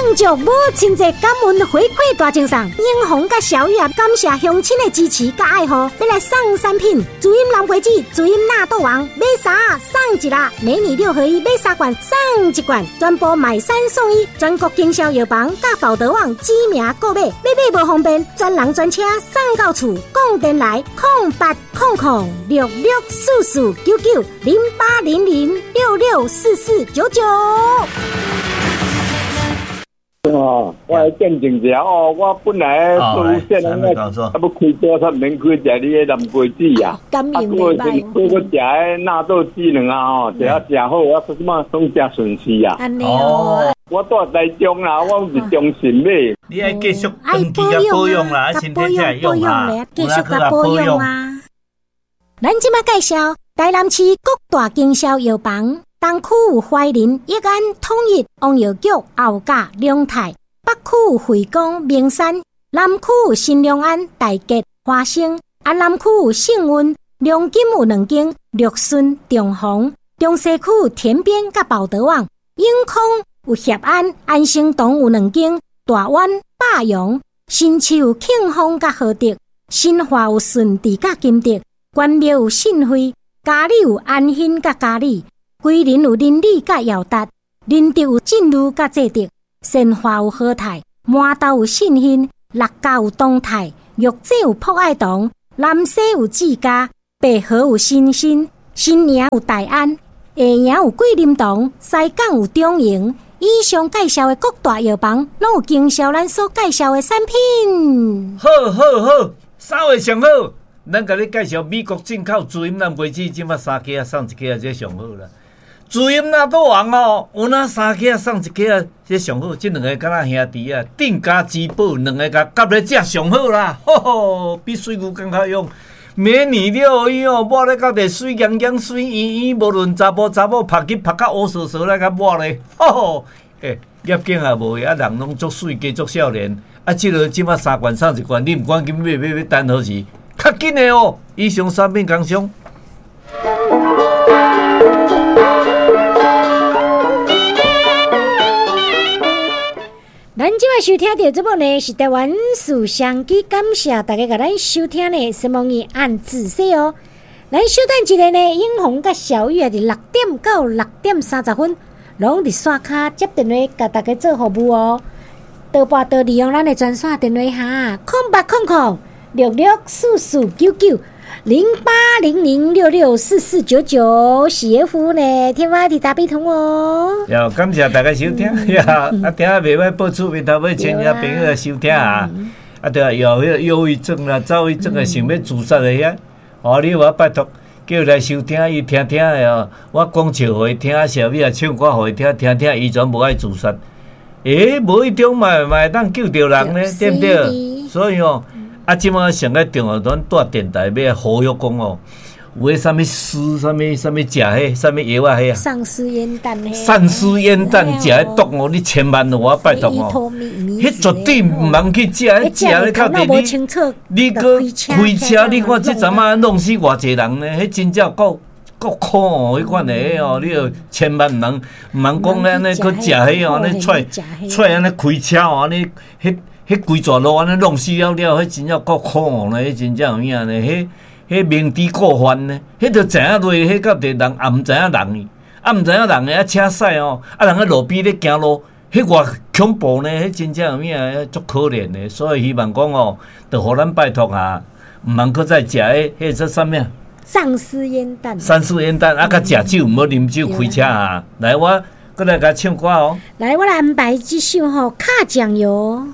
庆祝母亲节感恩回馈大赠送，英红佮小雨啊，感谢乡亲的支持佮爱护，欲来送产品，滋阴蓝花子、滋阴纳豆王，买三送一啦，美女六合一买三罐送一罐，全部买三送一，全国经销药房佮宝德网指名购买，欲买无方便，专人专车送到厝，讲电来08006644990800664499。哦，我來見證一下哦，我本來做線啊，啊欲開車才毋免開，食你的藍瓜子啊，啊，閣是閣閣食彼納豆劑兩啊吼，食啊誠好，啊，這馬攏誠順勢啊。哦，我住台中啦，我是中信買。你愛繼續長期共保養啦，身體才會用啊，繼續共保養啊。咱這馬介紹台南市各大經銷藥房。東區有懷仁、益安、統一、王藥局、後甲、龍泰；北區有惠光、明山；南區有新良安、大吉、華生；啊，南區有幸運、龍金有兩間，綠順、中宏；中西區有田邊佮寶德網；永康有協安、安生堂有兩間，大灣、百陽；新市有慶豐佮和德；新化有順治佮金德；關廟有信惠；嘉里有安興佮嘉里。桂林有林里佮耀達，仁德有進如佮濟德，善化有和泰，麻豆有信興，六甲有東泰，玉井有朴愛堂，南勢有志嘉，白河有新興，新營有大安，下營有桂林堂，西港有中營。以上介紹的各大藥房，攏有經銷咱所介紹的產品。好，好，好，啥貨上好？咱共你介紹美國進口滋陰藍瓜子，這馬三支仔送一支仔，這上好啦。滋陰納豆王哦，有哪三支仔送一支仔，這上好。這兩个敢若兄弟啊，鎮家之寶，兩个共夾咧食上好啦。吼吼，比水牛閣較勇。美女六合一哦，抹咧到底水盈盈、水圆圆，無論查埔查某曝去曝甲烏趖趖咧，共抹咧。吼吼，欸，業景也無啊，人攏足媠，加足少年。啊，這个這馬三罐送一罐，你毋趕緊買買買，等何時？較緊的哦，以上產品工商。咱這擺收聽著節目呢，是台灣事商機，感謝大家共咱收聽呢。什麼語按仔細哦。咱稍等一下呢，英紅佮小雨啊，佇6點到6點30分，攏佇線跤接電話，共大家做服務哦。多撥多利用咱的專線電話哈，0800664499。0800664499是的服務呢，天發佇大悲通哦。喲，感謝大家收聽呀！啊，聽啊袂歹，報厝邊頭尾親戚朋友來收聽啊！啊，對啊，有彼個憂鬱症啦、躁鬱症的，想欲自殺的遐，哦，你有法拜託，叫伊來收聽，伊聽聽的哦。我講笑予伊聽，小美仔唱歌予伊聽，聽聽伊全無愛自殺。欸，無意中嘛嘛會當救著人呢，對毋對？所以哦。啊！這馬上較重要，咱蹛電台欲來呼籲講哦，有彼啥物絲、啥物、啥物食彼、啥物藥仔彼啊？喪屍煙彈彼？喪屍煙彈食彼毒哦！你千萬予我拜託哦！彼絕對毋通去食，彼食咧較濟你，你閣開車，你看這陣仔弄死偌濟人呢？彼真正夠夠苦哦！彼款的哦，你著千萬毋通毋通講按呢閣食彼哦，按呢揣揣按呢開車哦，按呢彼。彼規逝路按呢弄死了了，彼真正夠可惡呢！彼真正有影呢，彼彼明知故犯呢，彼就知影落，彼到底人也毋知影人伊，啊毋知影人的啊車駛哦，啊人佇路邊咧行路，彼偌恐怖呢！彼真正有影，足可憐的，所以希望講哦，著予咱拜託啊，毋通閣再食彼彼個啥物啊？喪屍煙彈。喪屍煙彈啊，佮食酒毋好啉酒開車啊！來，我閣來共唱歌哦。來，我來安排這首吼，卡醬油。